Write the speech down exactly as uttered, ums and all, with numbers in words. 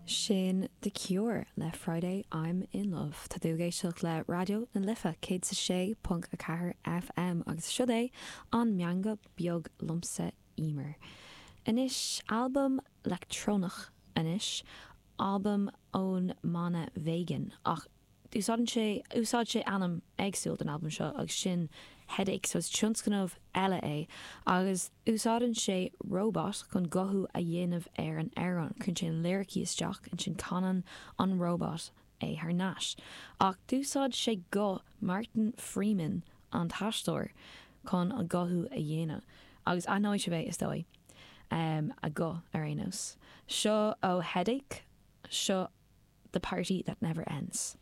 Sin The Cure le Friday I'm in Love. Tá tú ag éisteacht le Raidió na Life céad a sé ponc a ceathair FM agus seo é an meangadh beag liomsa Emer. Anois albam leictreonach anois, albam ón mbanna Vegyn ach úsáideann sé úsáid sé ainm éagsúil don albam seo agus sin Headache, so is tionscnamh eile é agus úsáideann sé robot chun guthú a dhéanamh ar an amhrán cuireann sé an liricí isteach ansin canann an robot é thar n-ais. Ach d'úsáid sé guth Martin Freeman an t-aisteoir chun an guthú a dhéanamh agus aithneoidh sibh é is dóigh um, a guth ar aon nós. Seo ó Headache, seo the party that never ends.